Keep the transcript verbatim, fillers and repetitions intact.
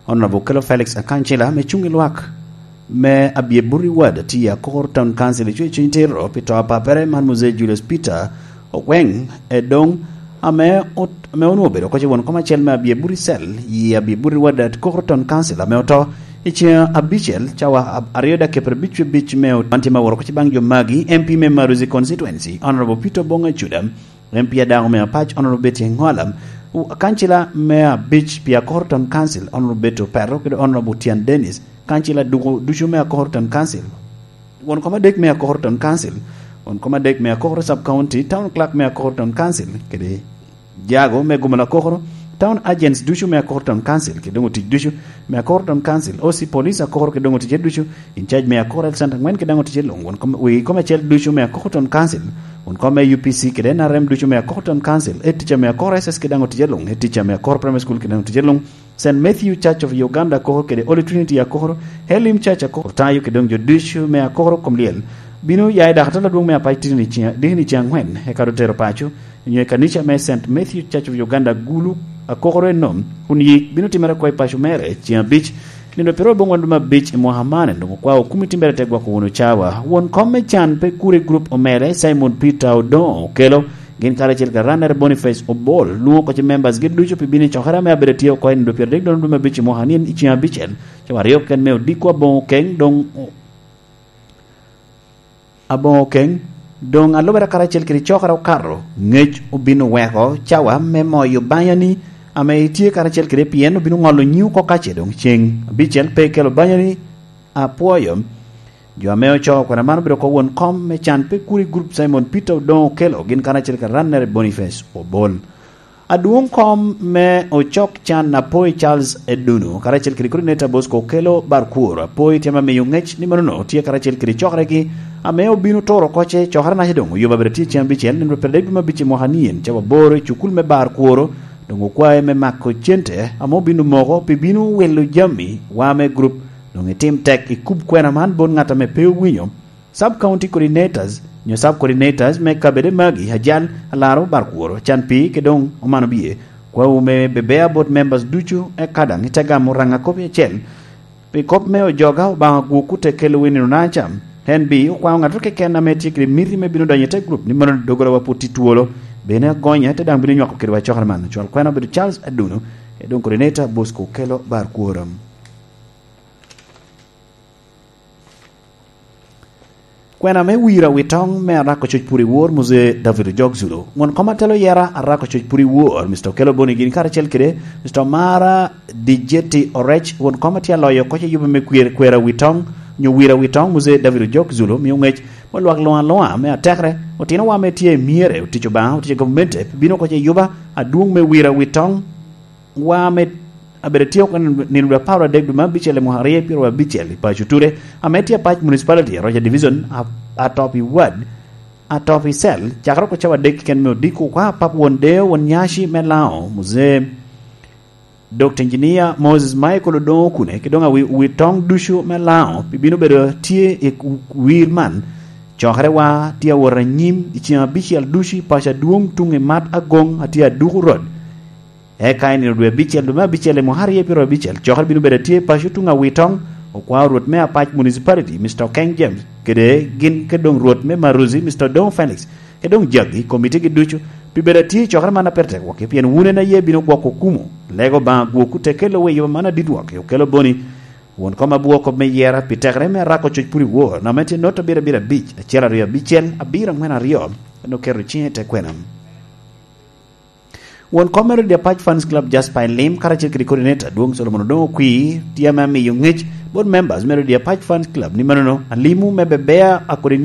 Honorable Okello Felix Akancila ame cuŋ i lwak me Abyeburi Ward tye i Akor Town Council i Cwecwiny Tiro pi to a papere man Muzee Julius Peter Ogweng Edong ame ot-, ame onwoŋo obedo oko ce won kom acel me Abyeburi Cell i Abyeburi Ward at Akor Town Council ame oto i ceŋ abicel cawa ab-, aryo dakika pyerabicwiabic me ot-, man tye ma woro oko ce baŋ jo magi, M P me Maruzi Constituency, Honorable Peter Obong Acuda, M P a daŋ ome apac, Honorable Betty Engwala, u-, kancila me abic pi Akor Town Council, Honorable Betty Opero, kede Honorable Tian Dennis, kancila dugo ducu me Akor Town Council, won kom adek me Akor Town Council, won kom adek me Akor Sub County, Town Clerk me Akor Town Council, kede jago me gumo lakokoro, Town Agents ducu me Akor Town Council, kede doŋ otic ducu me Akor Town Council, O C Police Akor, kede doŋ oticce ducu, in charge me Akor Health Center angwen, kede doŋ oticce luŋ, won kom, wegi kom acel ducu me Akor Town Council, won kom me U P C, kede N R M ducu me Akor Town Council, head teacher me Akor S S, kede doŋ oticce luŋ, head teacher me Akor Primary School, kede doŋ oticce luŋ, Saint Matthew Church of Uganda Akor kede Holy Trinity Akor, Elim Church Akor, Otayo kede doŋ jo ducu me Akor kom lyel bino ya i dakatala adwoŋ me apac titini ceŋ, dikini ceŋ angwen, eka otero paco, nyo i kanica me Saint Matthew Church of Uganda Gulu Akor enom, kun yik bino timere oko i paco mere ceŋ abic, nino pyeraryo aboŋwen lume abic i mwaka man, doŋ okwao komiti mere te gwoko wunu cawa. Won kom me can pe kure group omere Simon Peter Odongo Okelo, gin karacel kede Ranner Boniface Obol, lwoŋo oko ce members gi ducu pi bino i cokere ame abedo tye oko i nino pyeradek doŋ lume abic i mwaka ni i ceŋ abicel, cawa aryo keken me odiko aboŋo keny, doŋ aboŋo keny, doŋ alubere karacel kede cokere okato, ngec obin oweko cawa me moyo banyani ame itye karacel kede pien obin oŋolo nyiŋ oko kace doŋ ceŋ abicel pe ikelo banyani. Apwoyo jo ame ocoo kwena man obedo oko won kom me can pe kuri group Simon Peter Odongo Okelo gin karacel kede Ranner Boniface Obol. Adwoŋ kom me ocok can Apoi Charles Edunu karacel kede coordinator Bosco Okelo Barkwor Apoi tye ame miyo ŋec ni manono tye karacel kede cokeregi ame obino turo oko ce cokere naca doŋ oyubo abedo tye ceŋ abicel nino pyeradek dwe me abic i mwaka ni en cawa aboro i cukul me Barkwor doŋ okwae me mako cente ame obino moko pi bino wilo jami wa me group. Doŋ itim tek ikub kwena man bot ŋat ame pe owinyo. Sub County Coordinators nyo Sub Coordinators me kabede magi, Ajal, Alaro, Barkworo, Canpi, kede doŋ Omano Bye, kwawu me bebea bot members ducu, eka daŋ ite gamo raŋ akobi acel pi kop me ojoga Obaŋa gwokwu te kelo wi nino naca. En bi okwao ŋato keken ame tye kede miti me bino donyo i te group ni mano doggola wa pwod tye twolo, bene agonya te daŋ bino nywako kedwa cokere man. Cwal kwena obedo Charles Aduno, e doŋ Coordinator Bosco Okelo Barkworo. Kwena me wira wi toŋ me Arako Coc Pur i Wor, Muzee David Ojok Zulu. Won kom atelo yera Arako Coc Pur i Wor, Mister Okello Boni gin karacel kede Mister Omara Dijeti Orec, won kom atye aloyo koc ayuba me kwer, kwera wi toŋ, nyo wira wi toŋ, Muzee David Ojok Zulu, mio ŋec me lwak luŋ aluŋa me atekere, otinowa me tye i myere, otic Obaŋa, otic i gamente, bino koc ayuba, adwoŋ me wira wi toŋ, wa me abedo tye oko nino dwe apar adek dwe me abicel i mwaka aryo pyeraryo abicel i paco Ture, ame tye apac municipality, Roger Division, a-, Atopi Ward, Atopi Cell, cakere oko cawa adek keken me odiko kwa pap won deo, won nyaci me Laŋo, Muzee Doctor Engineer Moses Michael Odongo Okune, ki doŋ awi-, wi toŋ ducu me Laŋo, pi bino bedo tye i wir man. Cokere wa tye awot anyim i ceŋ abicel ducu i paco adwoŋ tuŋ i mat agoŋ atye aduku rot. Eka i nino dwe abicel, dwe me abicel i mwaka aryo pyeraryo abicel, cokere bino bedo atye i paco tuŋ Awitoŋ, okwao Rwot me Apac Municipality, Mister Okeng James, kede gin ke doŋ Rwot me Maruzi, Mister Odongo Felix, ke doŋ jagi, komitigi ducu, pi bedo atye i cokere man apetek wok, pien wun en aye bino gwoko kumo, lego Obaŋa gwokwu te kelo wi yuba man adit wok, okelo boni, won kom abwo kop me yera, pi tekere me arako coc pur i wor, nome tye not abiro abiro abic, acel aryo abicel, abiro angwen aryo, en oketo ciŋe i te kwena. Won kom me Rodi Apac Fans Club Jasper Elim karacel kede coordinator Adwoŋ Solomon Odongo Okwi tye ame amiyo ŋec bot members me Rodi Apac Fans Club ni manono alimo me bebea a coordinator